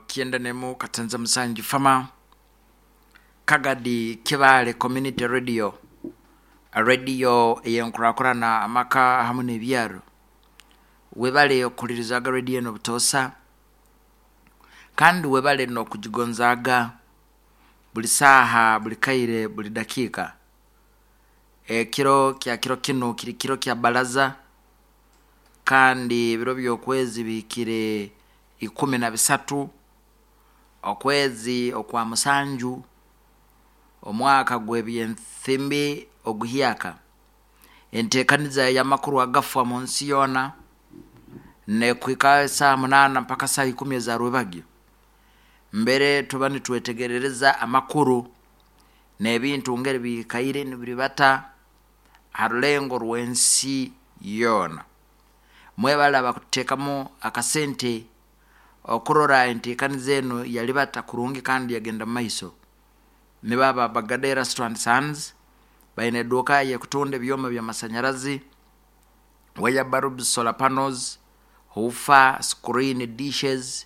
91 Katenza Musanju Fama Kagadi Kibale Community Radio, radio ey'enkurakurana amaka hamu n'ebyaro. Webale okuhulirizaga radio enu obutoosa kandi webale n'okugigonzaaga buli saaha, buli kaire, buli dakiika. Ekiro kya kiro kinu kiri kiro kya baraza kandi ebiro by'okwezi bihikire 13 okwezi okwa musanju omwaka gw'ebyensimbi oguhyaka. Enteekaniza ey'amakuru agafwa mu nsi yoona n'ekuhika esaaha 8 mpaka saaha 10 eza rwebagyo. Mbere tuba nitwetegerereza amakuru n'ebintu ngeri biikaire nibiribata ha rulengo rw'ensi yoona. Mwebale abakututeekamu akasente okurora enteekaniza enu yalibata kurungi kandi yagenda mu maiso. Nibo aba Bagada Erasto and Sons, baine eduuka ey'ekutunda ebyoma by'amasanyarazi, wire bulbs, solar panels, huufa, screen, dishes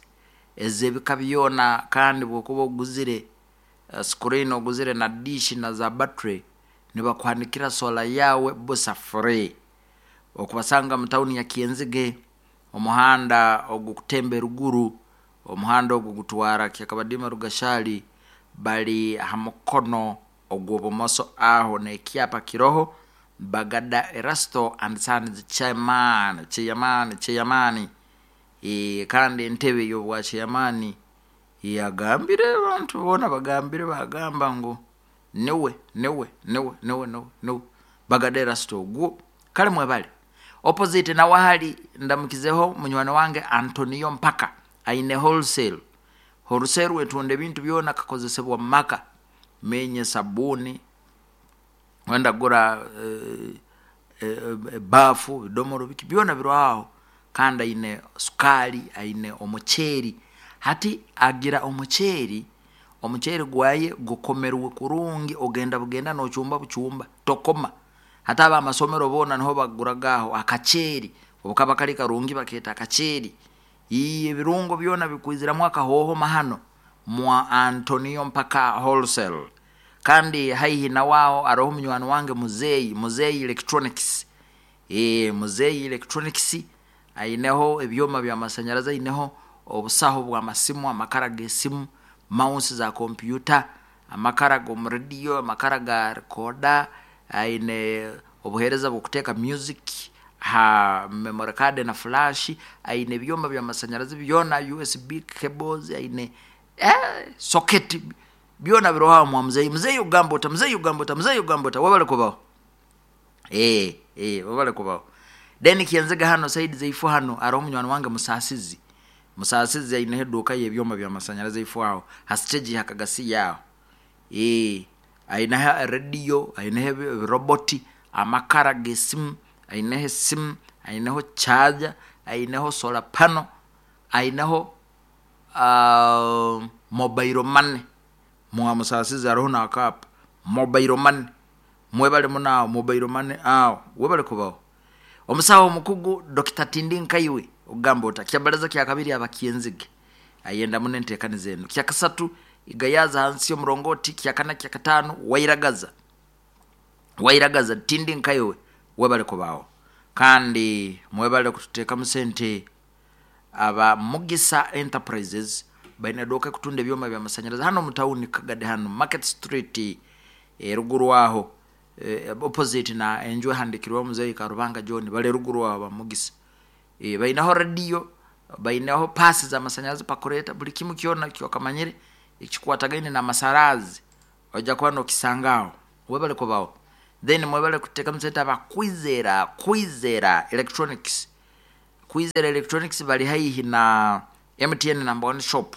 ez'ebika byona kandi obwokuba oguzire screen oguzire na dish na za battery nibakuhanikira solar yaawe busa free. Okubasanga mu tawuni ya Kyenzige, omuhanda ogukutemba eruguru, omuhanda ogu gutwara Kyakabadiima Rugashali, bali ha mukono ogw'obumoso aho n'ekyapa kiroho Bagada Erasto and Sons Chairman, Chairman, Chairman. Kandi entebe y'obwa chairman yagambire abantu boona bagambire bagamba ngu niwe, niwe, niwe, niwe, niwe, niwe Bagada Erasto ogwo. Kale mwebale. Opposite nawe ahali ndamukizeho munywani wange Antonio Mpaka aine wholesale. Wholesale etunda ebintu byona kakozesebwa mu maka. Menye sabuuni, wenda gura ebaafu, ebidomoro biki byona biroho aho. Kandi aine sukaali, aine omuceeri. Hati agira omuceeri, omuceeri gwaye gukomerwe kurungi ogenda bugenda n'ocumba bucumba tokoma. Hati ab'amasomero boona niho baguraga aho akaceeri obu kaba kali karungi bakeeta akaceeri. Ii ebirungo byona bikwiziramu akahooho mahano mwa Antonio Mpaka Wholesale. Kandi haihi nawe aho haroho munywani wange Muzeeyi, Muzeeyi Electronics. Muzeeyi Electronics aineho ebyoma by'amasanyarazi, aineho obusaho bw'amasimu, amakara g'esimu, mouse za kompyuta, amakara g'omu rediyo, amakara ga recorder, aine obuheereza bw'okuteeka music ha memory card na flash, aine ebyoma by'amasanyarazi byona, USB cables, aine socket byona biroho aho mwa muzeeyi. Muzeeyi ogamba ota, muzeeyi ogamba ota, muzeeyi ogamba ota, webale kubaho. Webale kubaho. Then Kyenzige hanu side zaife hanu haroho munywani wange Musaasizi. Musaasizi aineho eduuka y'ebyoma by'amasanyarazi ifo aho ha stage ha Kagasiya aho. Aineho rediyo, aineho ebiroboti, amakara g'esimu, aineho esimu, aineho charger, aineho solar panel, aineho mobile money. Mwa Musaasizi haroho n'akaapa mobile money. Mwebale muno aho mobile money aho webale kubaho. Omusaho omukugu Dokita Tindi Nkaiwe okugamba ota kyabaraza kyakabiri aba Kyenzige ayenda muno entekaniza enu. Kyakasatu Igayaza hansi y'omurongoti, kyakana kyakataano Wairagaza. Wairagaza Tindi Nkaiwe webale kubaho. Kandi mwebale kututeekamu sente aba Mugisa Enterprises baine eduuka ekutunda ebyoma by'amasanyarazi hanu omu tawuni Kagadi hanu Market Street eruguru aho opposite na enju ehandikirweho Muzeeyi Karubanga John bari eruguru aho aba Mugisa. Baineho rediyo, baineho paasi z'amasanyarazi pakureta buri kimu kyona eki okamanyire ekikwatagaine n'amasarazi oija kuba n'okisanga aho. Webale kubaho. Then mwebale kuteekamu sente aba Kwizera, Kwizera Electronics. Kwizera Electronics bari haihi na MTN number one shop.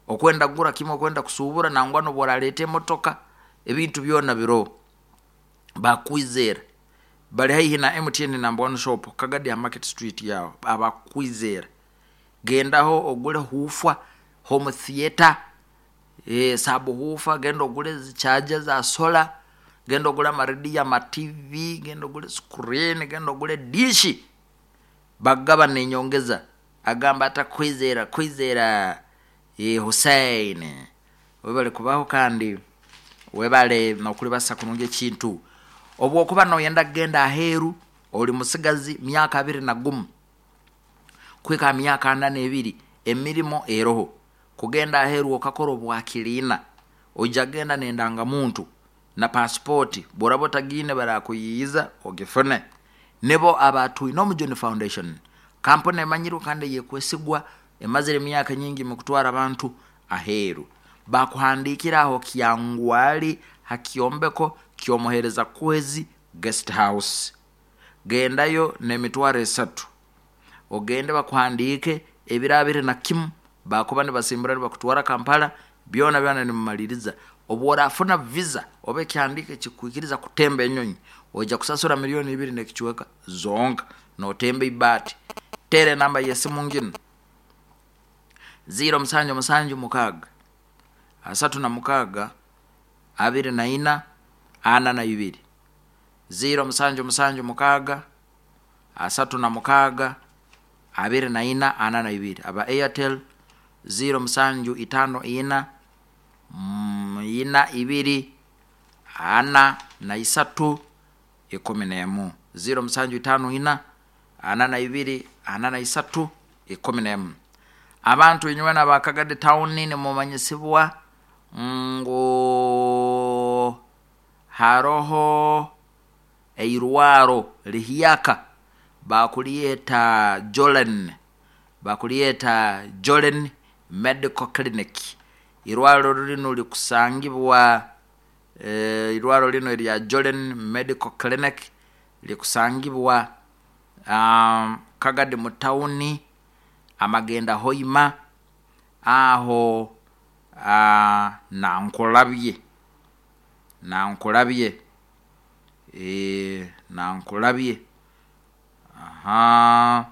Okwenda kugura kimwe, okwenda kusuubura nangwa n'obu orareeta emotoka, ebintu byona biroho. Ba Kwizera bari haihi na MTN number one shop Kagadi aha Market Street aho. Aba Kwizera gendaho ogure huufa, home theatre, sub huufa, genda ogure zi charger za solar, genda ogure amarediyo, ama TV, genda ogure screen, genda ogure dishi. Bagaba nenyongeza agamba ata Kwizera, Kwizera. Hussein, webale kubaho kandi webale nokulibasa kurungi ekintu. Obwokuba noyenda kugenda aheeru, oli musigazi myaka 21 kuhika ha myaka 42, emirimo eroho. Kugenda aheeru okakora obwakiliina, oija kugenda n'endangamuntu na pasipoti, bworaba otagiine barakuyiiza ogifune. Nibo aba Twinomujuni Foundation, kampuni emanyirwe kandi eyekwesigwa, emazire emyaka nyingi mukutwara abantu aheeru. Bakuhandiikira aho Kyangwali ha kyombeko ky'omuheereza Kwezi Guest House. Gendayo n'emitwaro 3, ogende bakuhandiike ebiro 21, bakuba nibasimbura nibakutwara Kampala, byona byona nimumaliriza. Obworafuna visa oba ekihandiiko ekikukwikiriza kutemba enyonyi, oija kusasura miliyoni 2 n'ekicweka zonka notemba ibaati. Teera enamba y'esimu nginu 0776 36 24 42, 0776 36 24 42. Aba Airtel 0754 42 43 11, 0754 42 43 11. Abantu inywena ba Kagadi town nimumanyisibwa ngu haroho eirwaro lihyaka bakulyeta Jolen, bakulyeta Jolen Medical Clinic. Irwaro linu likusangibwa irwaro linu erya Jolen Medical Clinic likusangibwa Kagadi mu tawuni, amagenda Hoima aho Nankulabye, Nankulabye, Nankulabye ha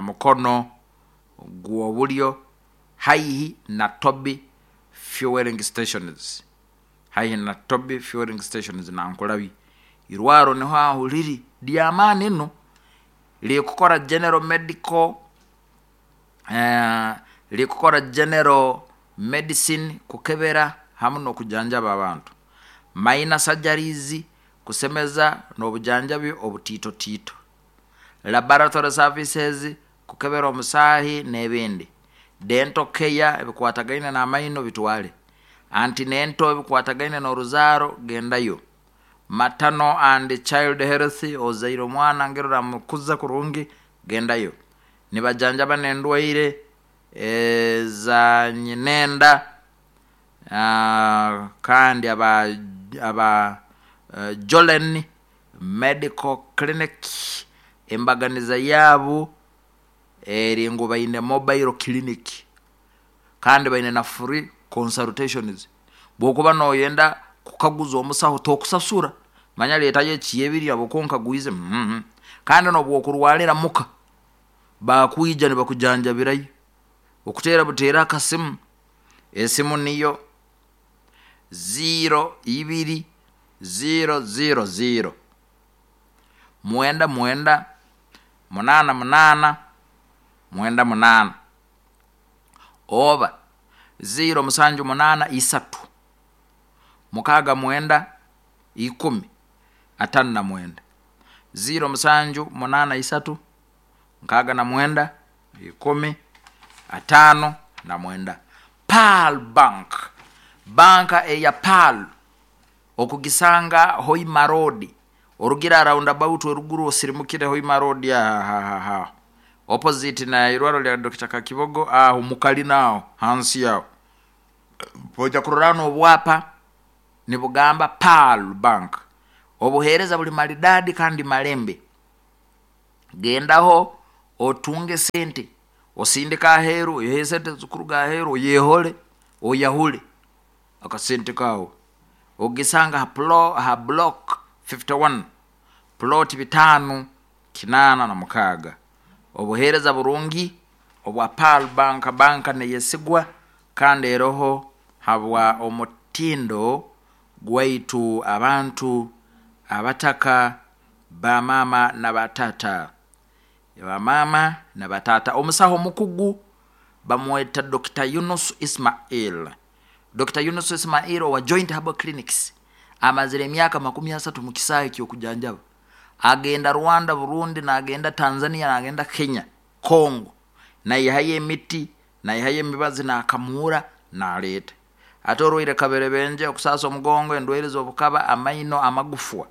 mukono gw'obulyo haihi na Toby Fueling Stations, haihi na Toby Fueling Stations Nankulabye. Irwaro niho aho liri ly'amaani ino, likukora general medical, likukora general medicine, kukebera hamu n'okujanjaba abantu, minor surgeries, kusemeza n'obujanjabi obutiitotiito, laboratory services, kukebera omusaahi n'ebindi, dental care, ebikwatagaine n'amaino bitwale, antenatal, ebikwatagaine n'oruzaaro gendayo, maternal and child health, ozaire omwana ngeri oramukuza kurungi gendayo. Nibajanjaba n'endwaire eza nyinenda, kandi aba Jolen Medical Clinic embaganiza yaabo eri ngu baine mobile clinic kandi baine na free consultations. Bwokuba noyenda kukaguza omusaho tokusasura, manya leetayo ekyebiri habwokuba nkagwize, kandi n'obwokurwalira muka bakwija nibakujanjabirayo, okuteera buteera akasimu, esimu niyo 02 000 99 88 98 oba 078 3 69 10 59, 0783 69 10 59. Pearl Bank, banka eya Pearl okugisanga Hoima Road, orugira roundabout eruguru osirimukire Hoima Road aha opposite na irwaro lya Dr. Kakibogo aho mukalina aho hansi aho oija kurora n'obwapa nibugamba Pearl Bank. Obuheereza buli maridadi kandi malembe. Gendaho otunge sente, osindike aheeru, oiheyo sente ezikuruga aheeru oyehole, oyahule akasente kaawe. Ogisanga ha block 51 plot 586. Obuheereza burungi obwa Pearl Bank, banka neyesigwa kandi eroho habwa omutindo gwaitu abantu abataka bamaama na batata, bamaama na batata. Omusaho omukugu. Bamweta Dr. Yunus Ismail. Dr. Yunus Ismail owa Joint Herbal Clinics amazire emyaka 30 mu kisaawe ky'okujanjaba. Agenda Rwanda, Burundi, nagenda Tanzania, nagenda Kenya, Congo, naihayo emiti, naihayo emibazi, nakamuura, naleeta. Ate orwaire kaberebenje, okusasa omugongo, endwaire z'obukaba, amaino, amagufwa,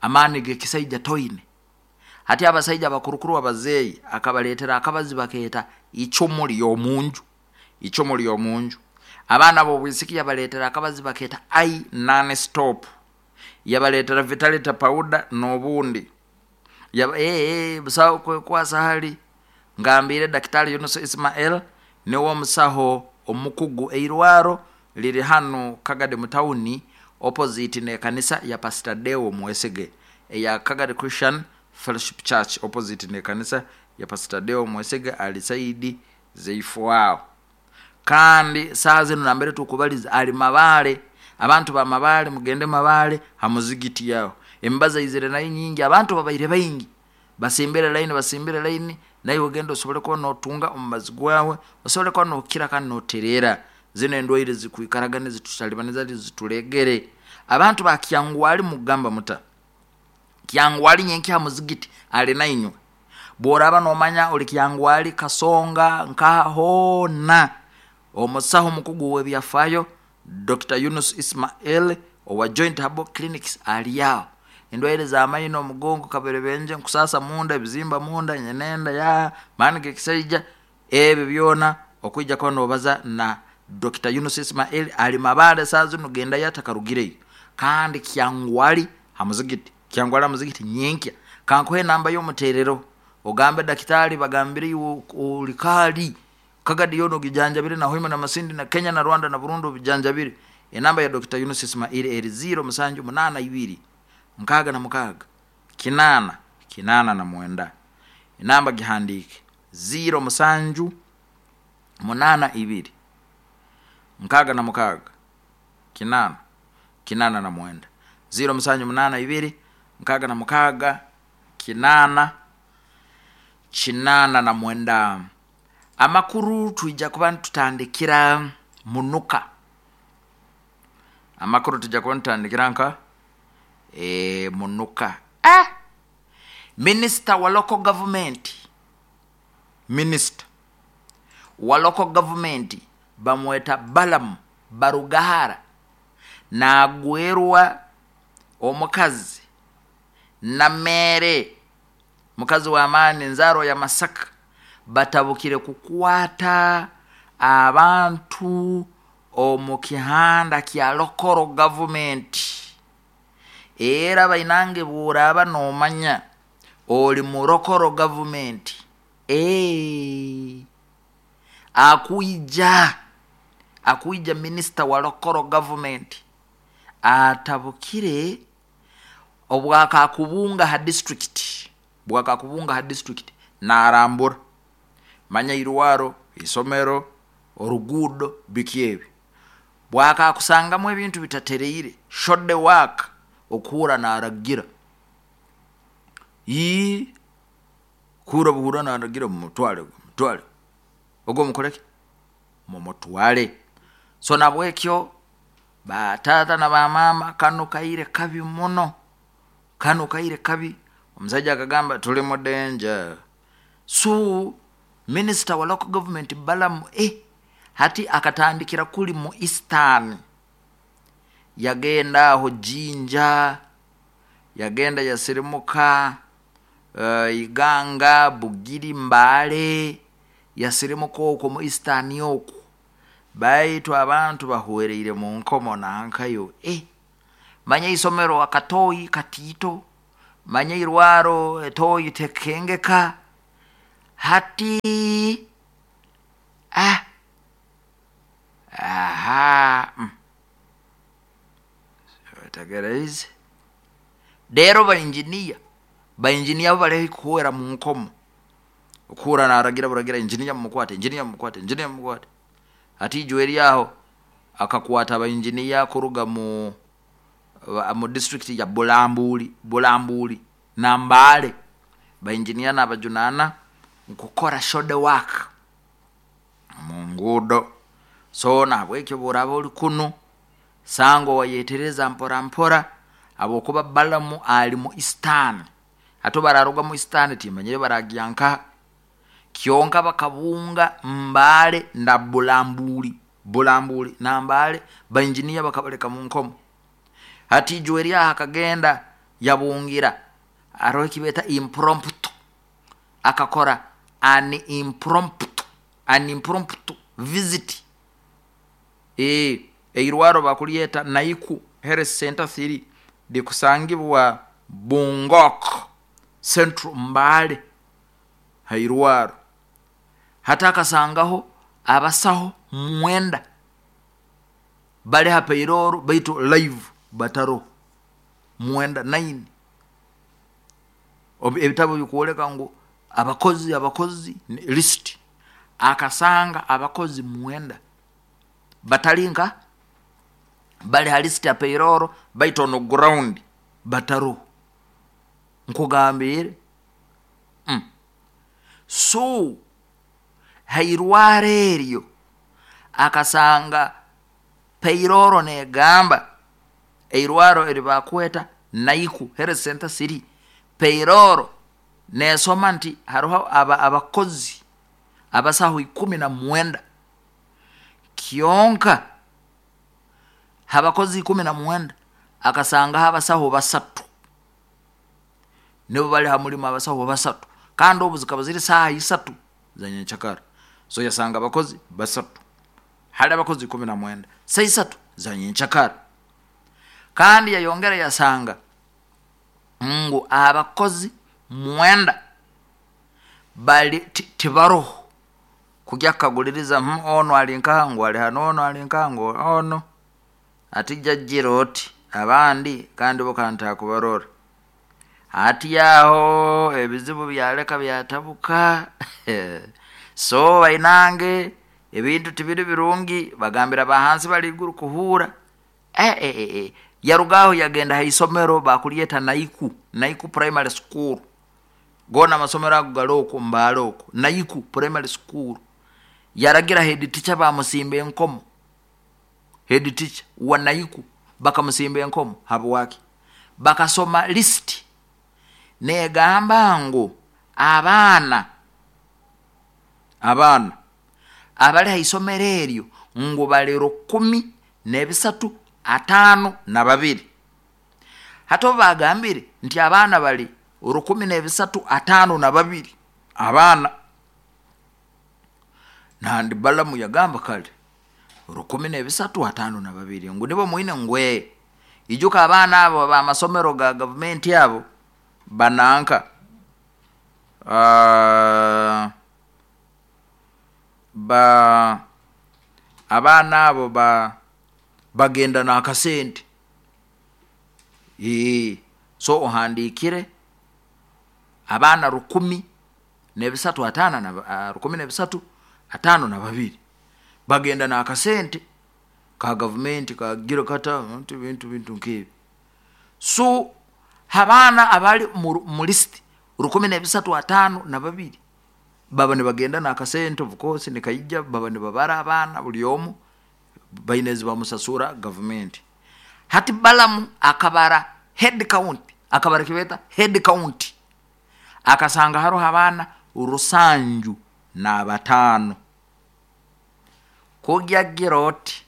amaani g'ekisaija toine. Hati abasaija abakurukuru abazeeyi akabaleetera akabazi bakeeta icumu ly'omunju, icumu ly'omunju. Abaana b'obwisiki yabaleetera akabazi bakeeta i non stop, yabaleetera vitality powder n'obundi. Busaho kwekwasa hali ngambiire Daktari Yunus Ismail, niwe omusaho omukugu. Eirwaro liri hanu Kagadi mu tawuni, opposite n'ekanisa ya Pastor Deo Mwesige eya Kagadi Christian Fellowship Church, opposite n'ekanisa ya Pastor Deo Mwesige ali saidi zeifo aho. Kandi saaha zinu nambere tukubaliza ali Mabaale. Abantu ba Mabaale mugende Mabaale ha muzigiti yaho, emibazi aizire nayo nyingi, abantu babaire baingi, basimbire laini, basimbire laini. Naiwe ogenda osobole kuba notunga omubazi gwawe, osobole kuba nokira kandi notereera. Zino endwaire zikwikaraga nizitutalibaniza, zitulegere. Abantu ba Kyangwali mugamba muta Kyangwali nyenkya ha muzigiti ali nainywe. Bworaba nomanya oli Kyangwali, Kasonga, nkaha hoona, omusaho omukugu w'ebyafaayo Dr. Yunus Ismail owa Joint Herbal Clinics ali aho. Endwaire z'amaino, omugongo, kaberebenje, nkusasa munda, ebizimba munda, nyenenda ya maani g'ekisaija, ebyo byona okwija kuba nobaza na Dr. Yunus Ismail. Ali Mabaale saa zinu, gendayo atakarugireyo. Kandi Kyangwali ha muzigiti, Kyangwali ha muzigiti nyenkya. Kankuhe enamba y'omuteerero, ogambe dakitaali bagambire iwe oli kaali Kagadi yoona ogijanjabire, na Hoima na Masindi na Kenya na Rwanda na Burundi obijanjabire. Enamba ya Dr. Yunus Ismail eri 0 7 8 2 66 8 89. Enamba gihandiike: 0 7 8 2 66 8 89, 0 7 8 2 66 8 89. Amakuru twija kuba nitutandikira munuka. Amakuru tujja kuba nitutandikira nka munuka. Minisita wa local government, minisita wa local government bamweta Balamu Barugahara, nagwerwa omukazi Nameere, mukazi w'amaani, nzaarwa ya Masaka. Batabukire kukwata abantu omu kihanda kya local government. Era bainange, bworaba nomanya oli mu local government, akwija akwija minisita wa local government atabukire obwakakubunga ha district, bwakakubunga ha district narambura, manya irwaro, isomero, oruguudo, biki ebi, bwakakusangamu ebintu bitatereire, shoddy work, okuhura naragira ii kuhura buhura naragira mumutwale, mumutwale ogwo, mukoleki, mumutwale. So nabwekyo bataata na bamaama, kanu kaire kabi muno, kanu kaire kabi. Omusaija akagamba tuli mu danger. So minisita wa local government Balamu hati akatandikira kuli mu Eastern, yagenda aho Jinja, yagenda yasirimuka Iganga, Bugiri, Mbale, yasirimuka okwo mu Eastern okwo, baitu abantu bahwereire mu nkomo nankayo. Manya isomero akatoyi katiito, manya irwaro etoyi tekengeka. Hati aha wetegereze rero bainjiniya, bainjiniya bo bali kuhwera mu nkomo, okuhura naragira buragira injiniya mumukwate, injiniya mumukwate, injiniya mumukwate. Hati ijwe eryaho akakwata abainjiniya kuruga mu district ya Bulambuli, Bulambuli na Mbale. Bainjiniya nabajunana nkukora shoddy work. Nguudo. So nahabwekyo obu oraaba oli kunu, sanga owayetereza mpora mpora, habwokuba Balamu ali mu Eastern. Hati obu bararuga mu Eastern timanyire baragya nkaha. Kyonka bakabunga Mbale na Bulambuli, Bulambuli na Mbale, bainjiniya bakabaleka mu nkomo. Hati Ijweri aho akagenda yabungira, haroho ekibeeta impromptu, akakora an impromptu visit. Eirwaro bakulyeta Naiku Health Center 3, likusangibwa Bungok Central, Mbale, hairwaro. Hati akasangaho abasaho 9 bali ha payroll, baitu live bataroho, 9, 9. Ebitabu bikwoleka ngu abakozi list, akasanga abakozi 9 batali nka bali ha list ya payroll, baitu on ground bataroho. Nkugambire, So hairwaro eryo akasanga payroll negamba, eirwaro eri bakweta Naiku Health Center 3, payroll nesoma nti haroho abakozi abasaho 19. Kyonka habakozi 19 akasangaho abasaho 3 nibo bali ha mulimu, abasaho 3, kandi obu zikaba ziri saaha 3 za nyenkyakara. So yasanga abakozi 3 hali abakozi 19, saa 3 za nyenkyakara. Kandi yayongera yasanga ngu abakozi 9 bali tibaroho kujya kukaguliriza, ono ali nkaha, ngu ali hano, ono ali nkaha, ngu ono ati jajjira oti abandi kandi bo kantakubarora. Hati aho ebizibu byaleka byatabuka. So bainange, ebintu tibiri birungi, bagambira bahansi bali iguru kuhuura. Yarugaho yagenda ha isomero bakulyeta Naiku Primary School. Goona amasomero ago gali oku Mbale oku, Naiku Primary School. Yaragira head teacher bamusimba enkomo. Head teacher wa Naiku bakamusimba enkomo. Habwaki? Bakasoma list negamba ngu abaana abali ha isomero eryo ngu bali 1352. Hati obu bagambire nti abaana bali 1352 abaana, nandi Balamu yagamba kale 1352 ngu nibo mwine, ngwe ijuka abaana abo abamasomero ga gavumenti abo bananka, ba abaana abo ba bagenda n'akasente. So ohandiikire abaana 1305 na 1352 bagenda n'akasente ka gavumenti kagira kata bintu nkebi. So abaana abali mu list 1352 baba nibagenda n'akasente, of course nikaija, baba nibabara abaana buli omu baine ezi bamusasura gavumenti. Hati Balamu akabara head count, akabara kibeeta head count, akasanga haroho abaana 75. Kugyagira oti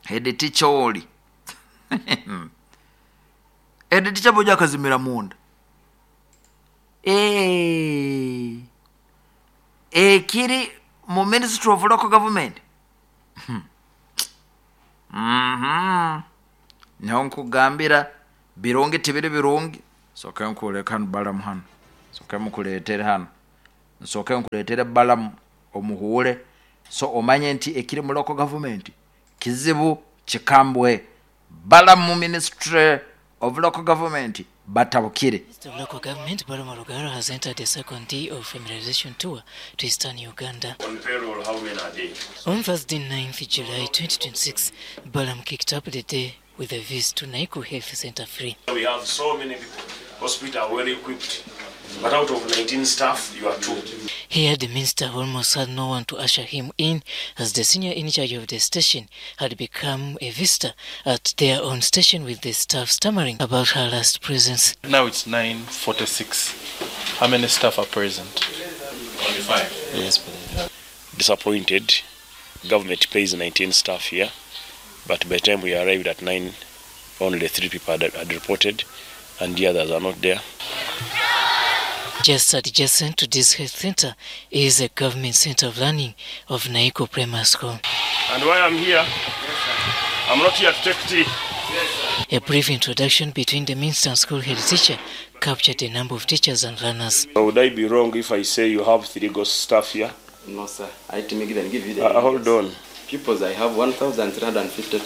head teacher oli, head teacher boja akazimira munda. Ekiri mu Ministry of Local Government, niho nkugambira birungi tibiri birungi. Soke nkuleka hano Balamu hano, soke mukuletere hano, nsoke nkuletere Balamu omuhuure, so omanye nti ekiri mu local government kizibu kikambwe. Balamu, Ministry of Local Government batabukire. Minister of Local Government Balaam Rugaro has entered the second day of familiarization tour to Eastern Uganda. On payroll, how many are they? On Thursday, 9th July 2026, Balaam kicked up the day with a visit to Naiku Health Center 3. We have so many people. Hospital are well equipped. But out of 19 staff, you are 2. Here, the minister almost had no one to usher him in, as the senior in charge of the station had become a visitor at their own station, with the staff stammering about her last presence. Now it's 9:46. How many staff are present? Only 5. Yes, please. Disappointed. Government pays 19 staff here, but by the time we arrived at 9, only 3 people had reported, and the others are not there. Just adjacent to this health center is a government center of learning of Naiko Primary School. And why I'm here, I'm not here to take tea. A brief introduction between the minister and school head teacher captured a number of teachers and learners. Would I be wrong if I say you have 3 ghost staff here? No, sir. I to make them give you the hold on. Pupils, I have 1,352.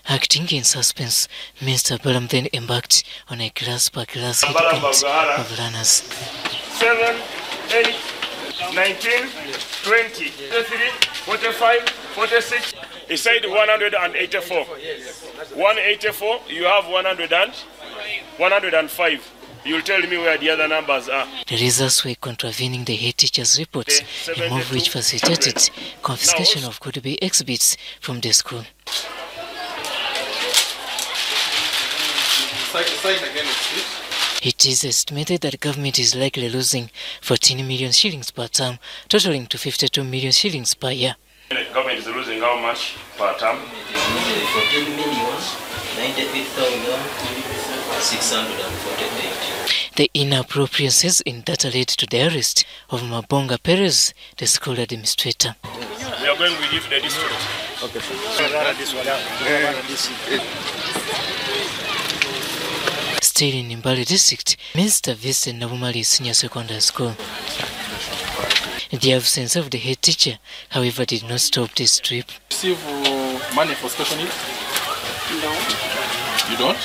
Acting in suspense, Mr. Balaam then embarked on a class per class head count of learners. 7, 8, 19, 20, 33, 45, 46. He said 184. 184, you have 105. You'll tell me where the other numbers are. The results were contravening the head teacher's reports, a move which facilitated confiscation of could-be exhibits from the school. It is estimated that government is likely losing 14 million shillings per term, totaling to 52 million shillings per year. The government is losing how much per term? 14,093,648. The inappropriacies in data led to the arrest of Mabonga Perez, the school administrator. We are going with you to the district. Okay. Still in Mbale district, Mr. visited Nabumali Senior Secondary School. The absence of the head teacher, however, did not stop this trip. Receive money for special needs? No. You don't?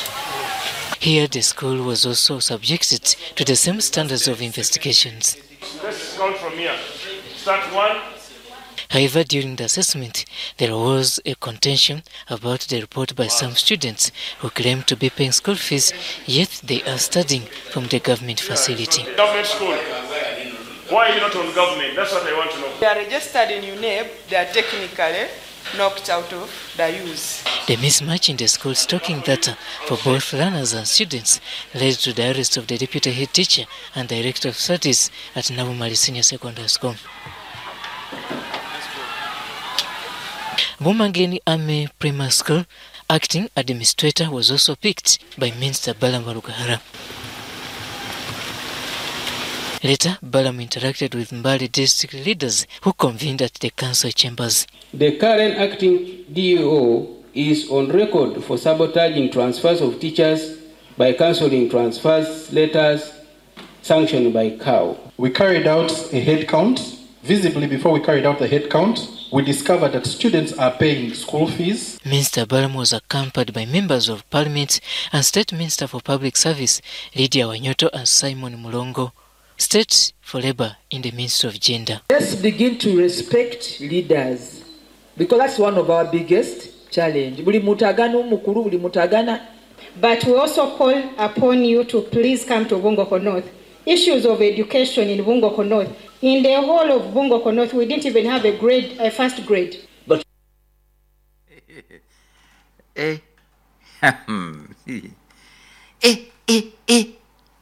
Here, the school was also subjected to the same standards of investigations. Let's count from here. Start 1. However, during the assessment, there was a contention about the report by some students who claim to be paying school fees, yet they are studying from the government facility. Government school. Why are you not on government? That's what I want to know. They are registered in UNEB. They are technically knocked out of the use. The mismatch in the school stocking data for both learners and students led to the arrest of the deputy head teacher and director of studies at Nabumali Senior Secondary School. Bumangeni Army Primary School acting administrator was also picked by Minister Balaam Barugahara. Later, Balaam interacted with Mbale district leaders who convened at the council chambers. The current acting DEO is on record for sabotaging transfers of teachers by cancelling transfers letters sanctioned by COW. We carried out a head count. Visibly, before we carried out the head count, we discovered that students are paying school fees. Minister Balaam was accompanied by members of Parliament and State Minister for Public Service Lydia Wanyoto and Simon Mulongo, State for Labor in the Ministry of Gender. Let's begin to respect leaders, because that's one of our biggest challenge. But we also call upon you to please come to Bungokho North. Issues of education in Bungokho North. In the whole of Bungokho North, we didn't even have a grade, a first grade. But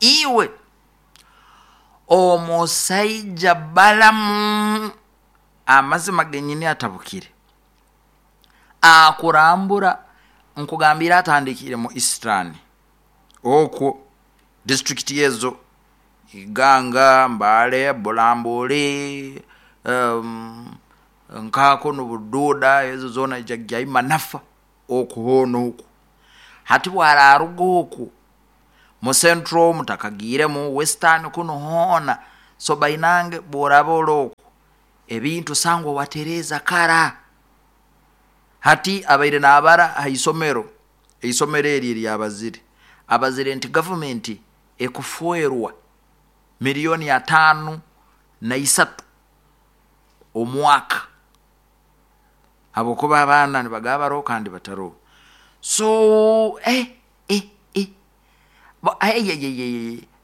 iwe omusajja Balamu amazima genyini atabukire akurambura nkugambira atandikire mu Eastern okwo district yezo Iganga, Mbale, Bulambuli, Nkako n'Obududa, ezo zona jajja Manafa okuhono oku hati bwararuga oku mu Central mutakagire mu Western kuno hona so bainange boraba oku ebintu sangwa watereza kara hati abaire n'abara haisomero eisomero eri lyabazire abazire nti government ekufuerwa 5,003 milioni omwaka abokuba abaana nibagabaro kandi bataro so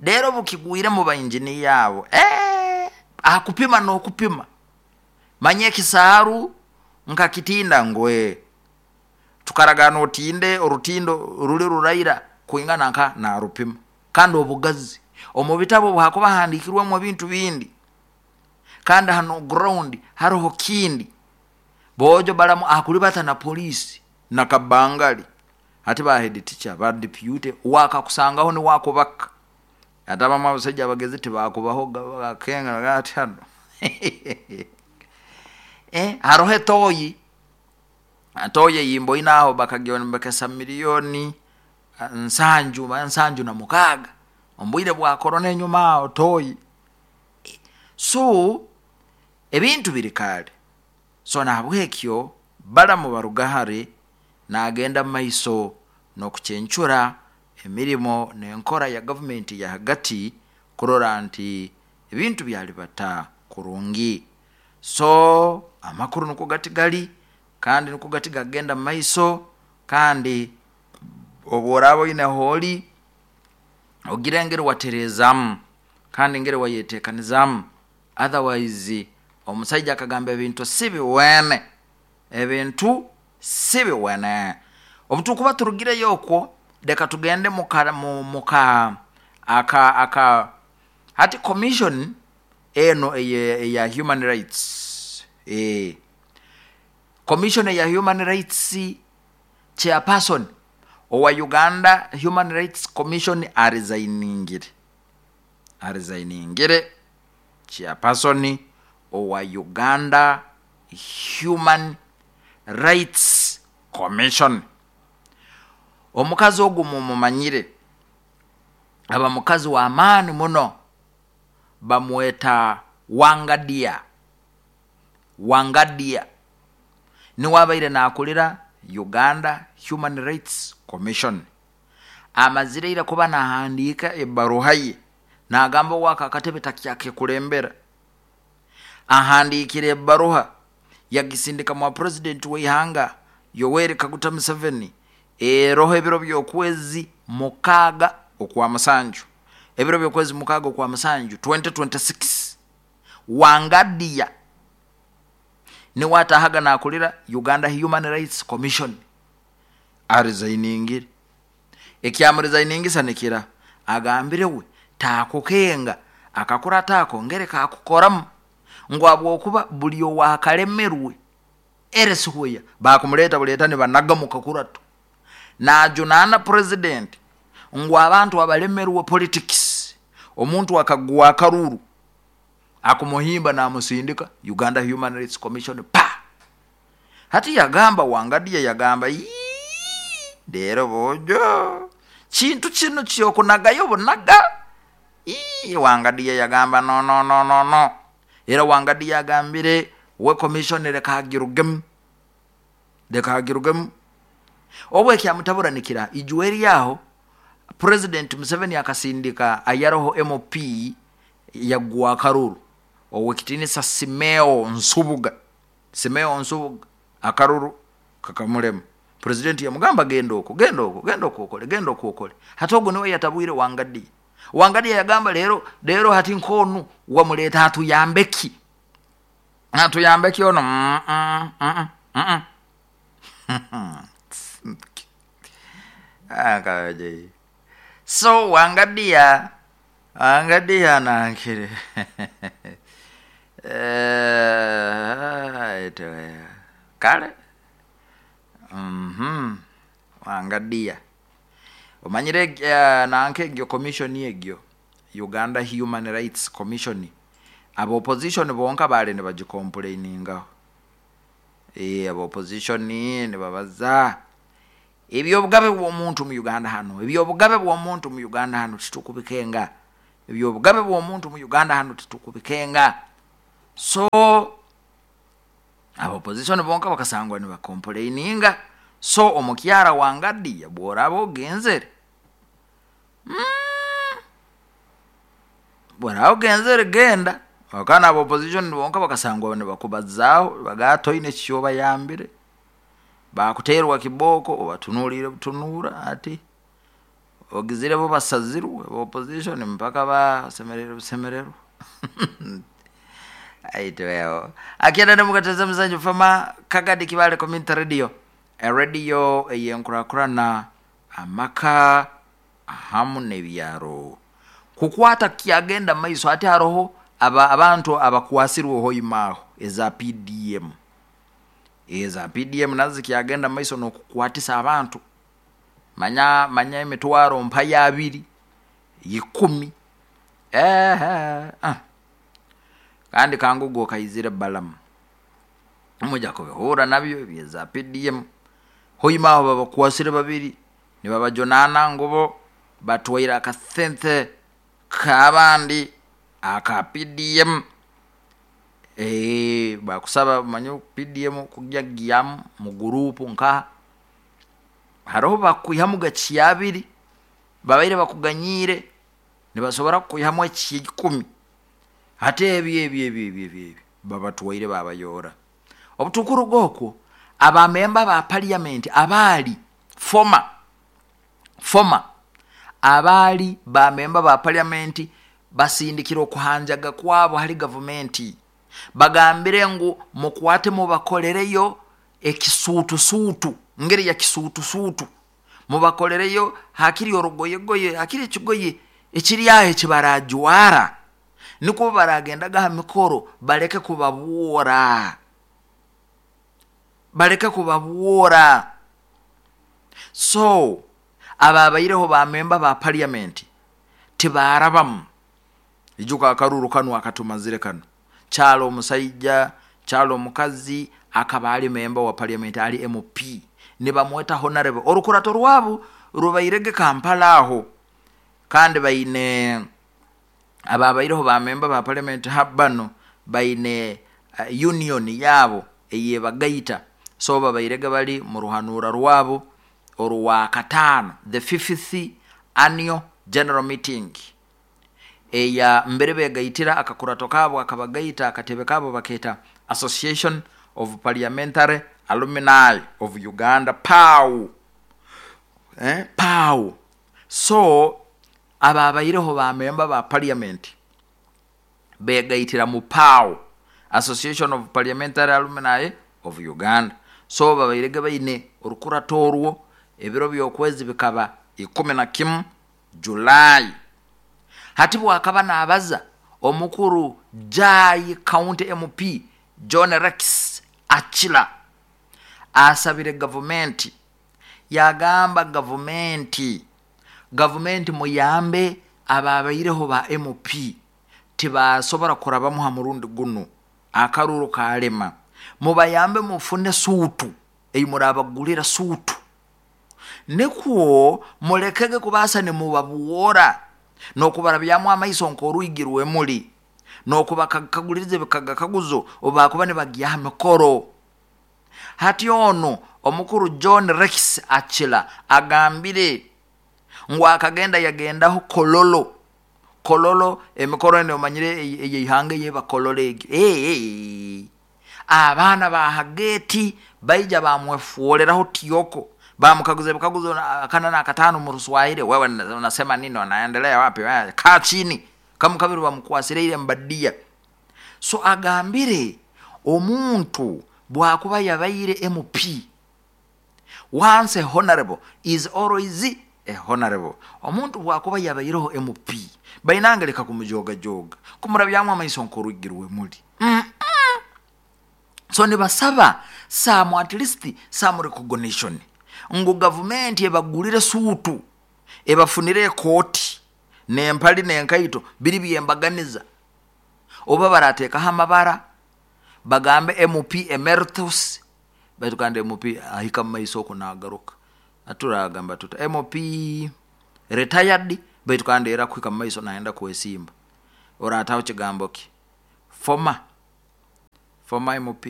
Rero bukigwire mu bainjiniya abo, akupima n'okupima manye ekisaaru nkakitinda ngwe tukaragana otinde orutindo ruli ruraira kwingana nka narupima kandi obugazi omu bitabo hakuba handikirwemu ebintu bindi kandi hano ground hariho kindi bojo balamu akulibata na polisi na kabangali ati ba head teacher ba deputy wakakusangaho ni wakubaka ate abamu abasajja abagezi tibakubaho bakenga ati hano haroho etoyi atoye yimbo inaho bakagyombekesa milioni 76 ombwire bwa corona enyuma aho toyi. So ebintu biri kale. So nahabwekyo Balamu Barugahare nagenda maiso n'okucencura emirimo n'enkora ya gavumenti ya hagati kurora nti ebintu byalibata kurungi. So amakuru nuko gati gali kandi nuko gati gagenda maiso kandi obworaba oine holi ogire ngeri waterezamu kandi ngeri wayetekanizamu, otherwise omusajja akagamba ebintu si biwene, ebintu si biwene. Obutukuba turugireyo okwo leka tugende muka aka hati commission eno eya human rights, commission ya human rights chairperson owa Uganda Human Rights Commission aresigning chairperson owa Uganda Human Rights Commission. Omukazi ogu mumumanyire, aba mukazi wa amaani muno, bamweta Wangadia. Wangadia niwe abaire nakulira Uganda Human Rights Commission. Amazireire kuba nahandiika ebaruha ye nagamba owaka akatebe takyakekulembera. Ahandiikire ebaruha yagisindika mwa president w'eihanga Yoweri Kaguta Museveni eroho ebiro by'okwezi 6 okwa musanju, ebiro by'okwezi 6 okwa musanju 2026. Wangadia niwe atahaga nakulira Uganda Human Rights Commission aresigning. Ekyamuresiningisa nikira agambire we takukenga akakura tako ngere kakukoramu ngu abwokuba buli owakalemerwe eresihweya bakumuleta buleta ne banagamuka kuratu najunana president ngu abantu abalemerwe politics omuntu akagwa akaruru akumuhimba namusindika Uganda Human Rights Commission pa. Hati yagamba Wangadia yagamba lero bojo kintu kino kyokunagayo bunaga. Wangadia yagamba no no no no no. Era Wangadia yagambire we commission lekagirugemu lekagirugemu obwe kyamutabuраnikira ijuweri yaho President Museveni akasindika ayaroho MP yagwa akaruru owekitinisa Simeo Nsubuga. Simeo Nsubuga akaruru kakamulema. President yamugamba genda oko genda oko genda oko okole genda oko okole. Hati ogwo niwe yatabwire Wangadia. Wangadia yagamba lero lero hati nkonu wamuleta atuyambeki atuyambeki ono akaje. So Wangadia Wangadia nankire kale Wangadia omanyire nanke egyo commission egyo Uganda Human Rights Commission abo opposition bonka bale ne bagicomplainingaho. Abo opposition ne babaza ebyobugabe bw'omuntu mu Uganda hano, ebyobugabe bw'omuntu mu Uganda hano titukubikenga, ebyobugabe bw'omuntu mu Uganda hano titukubikenga. So abo opposition bonka bakasangwa ne bacomplaininga. So omukyara Wangadia bworaba ogenzere bworaba ogenzere genda wakana abo opposition bonka bakasangwa ne bakubazaaho bagatoine kyoba yambire bakuterwa kiboko obatunulire butunura ati Ogizire bo basazirwe opposition mpaka basemererwa busemererwa. Aitweo akienda nemukateza muzanyu fama Kagadi Kibale Community Radio, radio eyenkurakurana amaka ahamu n'ebyaro kukwata kyagenda maiso. Ati haroho abantu abakwasirwe hoimaho eza PDM, eza PDM nazo zikyagenda maiso n'okukwatisa abantu manya manya emitwaro mpaya abiri ikumi ehe. Kandi kangugo kaizire balamu muja kubihura nabyo byeza PDM hoimaho babakwasire babiri nibabajonana ngubo batwaire akasente kabandi aka PDM. Bakusaba manyo PDM kujya giyamu mu gurupu nka haroho bakwihamu gakyabiri babaire bakuganyire nibasobora kwihamu ekikumi ate ebyo ebyo ebyo ebyo ebyo babatwaire babayora. Obutukuru gokwo abamemba ba parliament abali former abali bamemba ba parliament basindikira okuhanjaga kwabo hali gavumenti bagambire ngu mukwate mubakolereyo ekisuutusuutu ngeri ya kisuutusuutu mubakolereyo hakiri orugoyegoye hakiri ekigoye ekiri aho ekibarajwara niko baragendaga ha mikoro baleke kubabwora, baleke kubabwora. So ababaireho bamemba ba parliament tibarabamu ijuka akaruru kanu akatumazire kano kyalo omusaija kyalo omukazi akaba ali memba wa parliament ali MP nibamweta honorable orukurato rwabo rubairege Kampala aho. Kandi baine ababaireho bamemba ba parliament habano baine union yabo eyebagaita so babairege bali mu ruhanura rwabo oruwa katano, the 5th annual general meeting eya mbere begaitira akakurato kabo akabagaita akatebe kabo baketa Association of Parliamentary Alumni of Uganda PAU. PAU. So ababaireho bamemba ba parliament begaitira mu PAU, Association of Parliamentary Alumni of Uganda. So babairege baine orukurato orwo ebiro by'okwezi bikaba 11 July. Hati bwakaba nabaza omukuru Jai County MP John Rex Achila asabire gavumenti, yagamba gavumenti muyambe ababaireho ba MP tibasobora kurabamu ha murundi guno akaruru kalema, mubayambe mufune suutu eyimurabagulira suutu nikwo mulekege kubasa nimubabuwora nokubarabyamu amaiso nkoruigirwe muli nokubakaguliriza ebikagakaguzo obakuba nibagya mikoro. Hati ono omukuru John Rex Achila agambire ngu akagenda yagendaho Kololo Kololo emikoro eno omanyire eyeihanga yebakololo egyo abaana ba hageti baija bamwefuoleraho tiyoko bamukaguza ebikaguzo akana na katano mu Ruswahili, wewe unasema nini, unaendelea wapi, kaa chini kamukabiri bamukwasire ile mbadia. So agambire omuntu bwakuba yabaire MP once a honorable is always a honorable. Omuntu bwakuba yabaireho MP bainangeleka kumujoga joga kumurabyamu amaiso nkorugirwe muli. So nibasaba some at least some recognition ngu gavumenti ebagulire suutu ebafunire ekooti nempali nenkaito biri byembaganiza oba barateekaho amabara bagambe MP emeritus baitu kandi MP ahika mu maiso oku nagaruka aturagamba tuta MP retired baitu kandi era kuhika mu maiso naenda kwesimba orataho kigambo ki former MP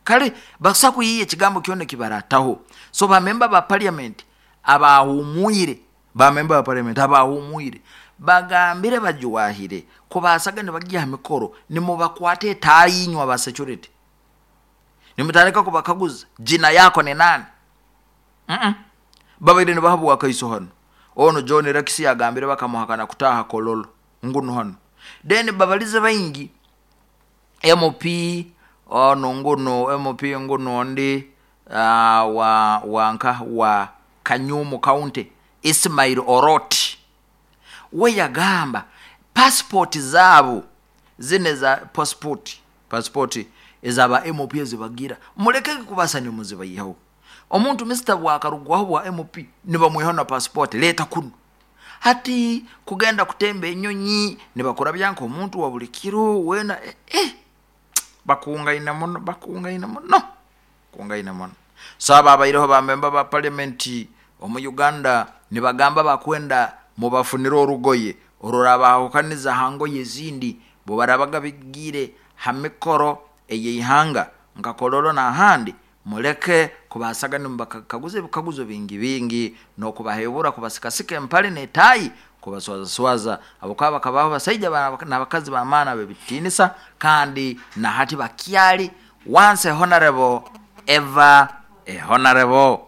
kale basa kuyiye ekigambo kyona kibarataho. So bamemba ba parliament abahumwire bamemba ba parliament abahumwire bagambire bajuwahire kubasaga nibagya mikoro nimubakwate etayinywa ba security nimutareka kubakaguza jina yako ni nani. Babaire nibahabwa akaiso hano Ono John Rex yagambire bakamuhakana kutaha Kololo nguno hano. Then babalize baingi MP ono nguno MP nguno ndi wa wanka wa Kanyumu County Ismail Oroti we yagamba passport zaabo zine za passport ezaba MP ezibagira muleke kubasa nimuzibayihaho. Omuntu Mr. bwakarugwaho bwa MP nibamwihaho na passport leta kuno. Hati kugenda kutemba enyonyi nibakora byanka omuntu wa buli kiro wena bakungaina muno bakungaina muno kungaina muno. Saba abaireho ba member ba parliament omu Uganda nibagamba bakwenda mubafunire orugoye orurabahukaniza hangoye ezindi bo barabaga bigire ha mikoro eyeihanga nka Kololo n'ahandi muleke kubasaga nimubakaguza ebikaguzo bingi bingi n'okubahebura kubasikasika empale n'etayi kubaswazaswaza abo kaba bakabaho basaija n'abakazi b'amaani b'ebitiinisa kandi na hati bakyali once a honorable ever a honorable.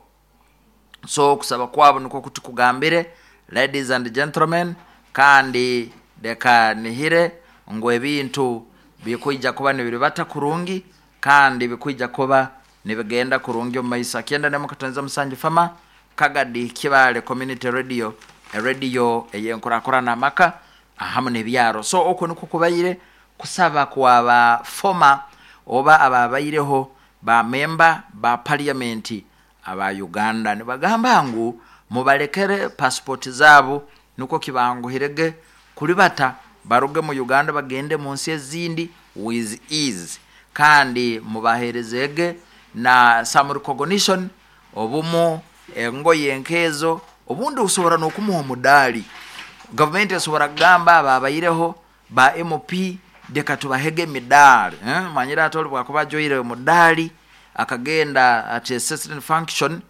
So okusaba kwabo nikwo kuti kugambire ladies and gentlemen, kandi leka nihire ngu ebintu bikwija kuba nibiribata kurungi kandi bikwija kuba nibigenda kurungi omu maiso. Akyenda ne musanju fama Kagadi Kibale Community Radio, radio eyenkurakurana amaka ahamu n'ebyaro. So okwo nikwo kubaire kusaba kwaba former oba ababaireho ba member ba parliament aba Uganda nibagamba ngu mubalekere passport zaabo nukwo kibanguhirege kulibata baruge mu Uganda bagende mu nsi ezindi with ease, kandi mubaherezege na some recognition obumu engoye nkezo obundi usobora n'okumuha omudali. Government esobora kugamba ababaireho ba MP deka tubahege emidali manyira ati oli bwakuba ajoire omudali akagenda at a certain function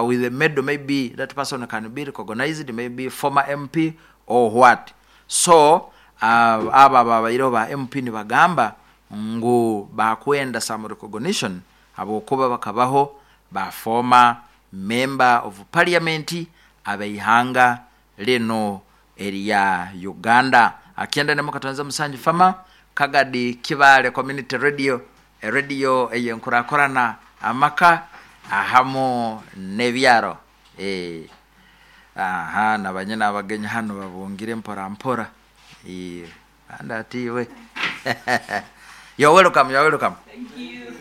with a medal, maybe that person can be recognized, maybe former MP or what. So aba ababaireho ba MP nibagamba ngu bakwenda some recognition habwokuba bakabaho ba former member of parliament abeihanga lino erya Uganda. Akyenda ne mukatonza musanju fama Kagadi Kibale Community Radio, radio eyenkurakurana amaka ahamu n'ebyaro. Aha nabanye n'abagenyi hano babungire mpora mpora. Anda atiwe. You're welcome, you're welcome. Thank you.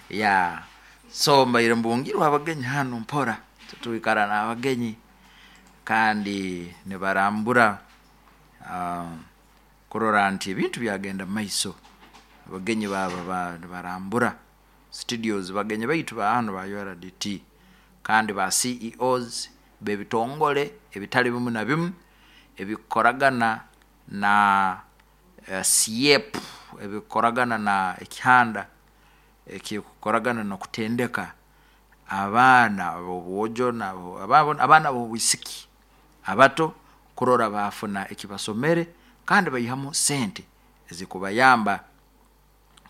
Yeah. So mbaire mbungirwa abagenyi hano mpora tutuikara n'abagenyi kandi nibarambura kurora nti ebintu byagenda maiso. Abagenyi baba nibarambura studios, bagenyi baitu ba hano ba URDT kandi ba CEOs b'ebitongole ebitali bimu na bimu ebikoragana na SIEP, ebikoragana na ekihanda ekikoragana n'okutendeka abaana b'obwojo abaana b'obwisiki abato kurora bafuna ekibasomere kandi baihamu sente ezikubayamba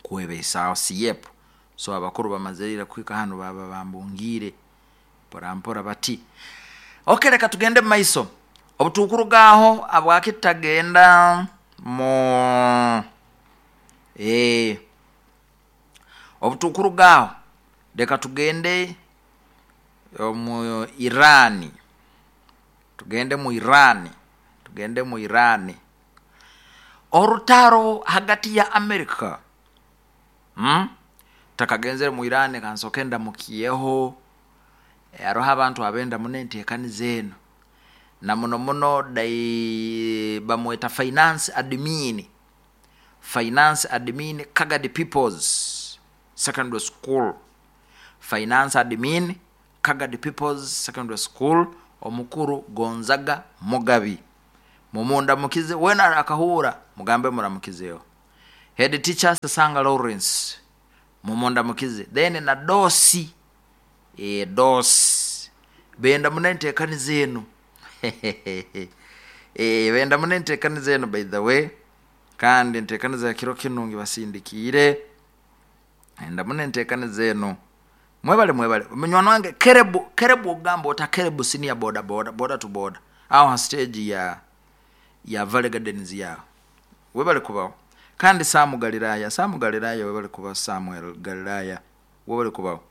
kwebeisaho SIEP. So abakuru bamazirire kuhika hano baba bambungire mpora mpora bati okay, reka tugende maiso. Obutukurugaho abwakitagenda mu obutukurugaho reka tugende mu Irani, tugende mu Irani, tugende mu Irani. Orutaro hagati ya Amerika takagenzere mu Irani kansoke ndamukiyeho aroho abantu abenda muno enteekaniza eno na muno muno dai bamweta finance admin, finance admin Kagadi People's Secondary School, finance admin Kagadi People's Secondary School, omukuru Gonzaga Mugabi. Mumunda mukize wena akahura mugambe muramukizeyo. Head teacher Sasanga Lawrence mumunda mukize. Then na dosi dosi benda munentekaniza eno benda munentekaniza eno by the way, kandi entekaniza ya kiro kinungi basindikire enda munentekaniza eno Mwebale, mwebale munywani wange. Kerebu, kerebu, ogamba ota Kerebu senior boda boda boda to boda aho ha stage ya Valley Gardens yaho. Webale kubaho. Kandi Samu Galilaya, Samu Galilaya, webale kubaho. Samuel Galilaya, webale kubaho.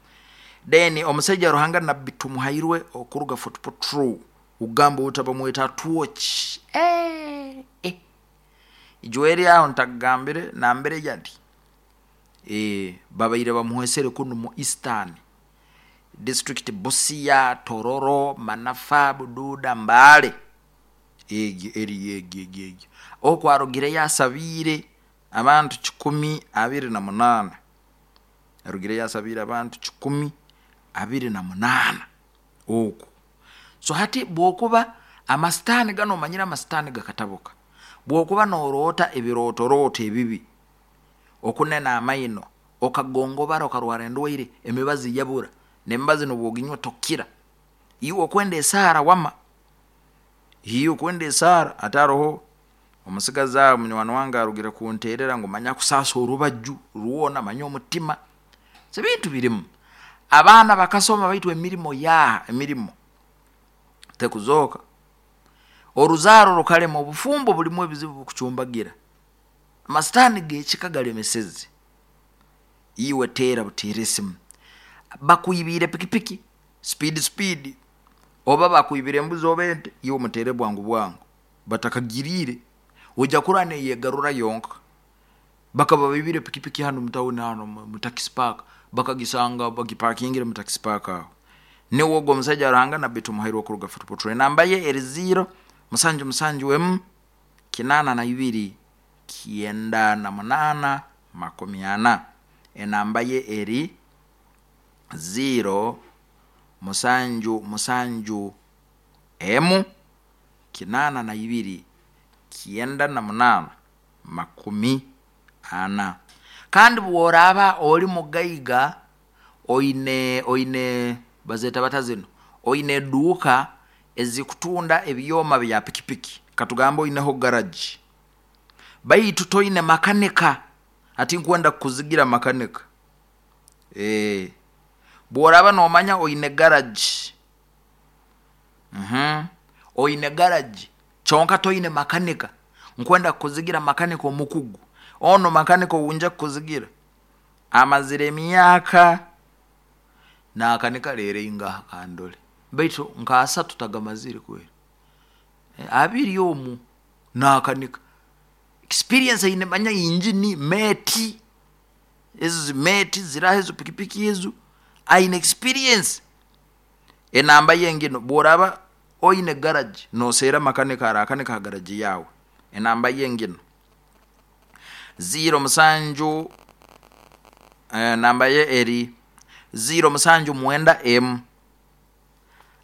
Then omusajja Ruhanga Nabbi Tumuhairwe okuruga Fort Portal, ugamba uta bamweta Twatch, eh, eh. Ijweri aho ntakugambire nambere yali, babaire bamuhwesere kunu mu Eastern District, Busia, Tororo, Manafa, Bududa, Mbale, egyo eri egyo egyo egyo okwarugire yasabiire abantu 128, arugire yasabiire abantu 128 okwo. So hati bwokuba amasitaani gano, omanyire amasitaani gakatabuka, bwokuba noroota ebirootoroto ebibi, okunena amaino, okagongobara, okarwara endwaire, emibazi yabura, nemibazi nobwoginywa tokira, iwe okwenda esaara wama, iwe okwenda esaara. Ate aroho omusigazi aho munywani wange arugire kunterera ngu manya kusaasa orubaju rwona, manya omutima. So ebintu birimu, abaana bakasoma baitu emirimo yaha, emirimo tekuzooka, oruzaaro rukalema, obufumbo bulimu ebizibu bukucumbagira, amasitaani gekika galemeseze. Iwe teera buteera esimu, bakwibiire pikipiki speed speed, oba bakwibire embuzi oba ente, iwe mutere bwangu bwangu batakagiriire, ojja kurora neyegarura yonka. Bakaba baibire pikipiki hano mutawuni hano mu taxi park, bakagisanga bagipakingire mu taxi park aho. Niwe ogwo omusajja Ruhanga Nabbi Tumuhairwe okuruga Fort Portal. Enamba ye eri 0 7 7 emu 82 98 40. Enamba ye eri 0 7 7 emu 82 98 40. Kandi bworaba oli mugaiga, oine bazeta bata zino, oine eduuka ezikutunda ebyoma bya pikipiki, katugambe oineho garage, baitu toine makanika, ati nkwenda kukuzigira makanika. Bworaba nomanya oine garage, oine garage kyonka toine makanika, nkwenda kukuzigira makanika omukugu. Ono makanika owunja kukuzigira amazire emyaka nakanika rero ingaha kandole, baitu nka 3 tagamazire kweri, 2 omu nakanika experience aine, manya injini meti ezo zimeti ziraho ezo pikipiki ezo aine experience. Enamba yengino, bworaba oine garage noseera makanika arakanika ha garage yawe, enamba yengino 0 7, namba ye eri 0 7 9 M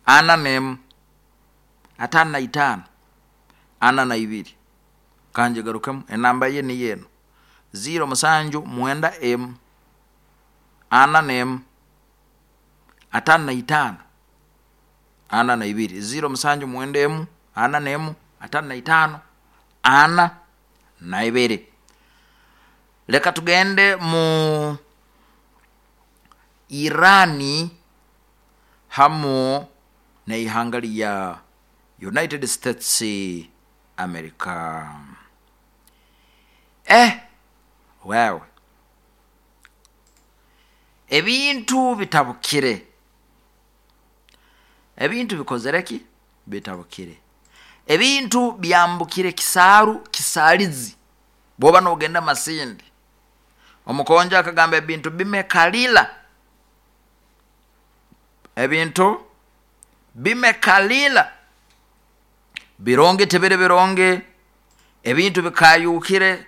4 M 5 5 42. Kanje garukemu, enamba ye ni yeno 0 7 9 M 4 M 5 5 42. 0 7 9 M 4 M 5 5 42. Leka tugende mu Irani hamu neihanga lya United States America. Wewe ebintu bitabukire, ebintu bikozereki bitabukire, ebintu byambukire kisaaru kisalizi. Bwoba nogenda Masindi, omukonja akagamba ebintu bimekalila, ebintu bimekalila, bironge tebere bironge, ebintu bikayukire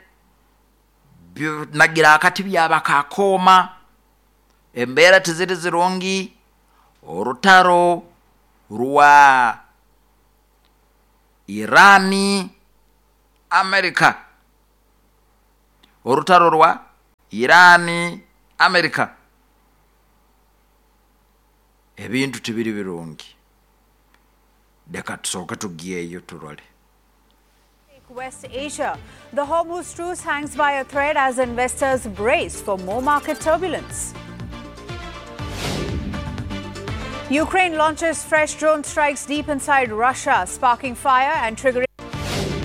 nagira akati byabakakoma, embeera tiziri zirungi. Orutaro rwa Irani Amerika, orutaro rwa Irani Amerika, ebintu tibiri birungi. Leka tusooke tugiyeyo turole. West Asia, the Hormuz truce hangs by a thread as investors brace for more market turbulence. Ukraine launches fresh drone strikes deep inside Russia, sparking fire and triggering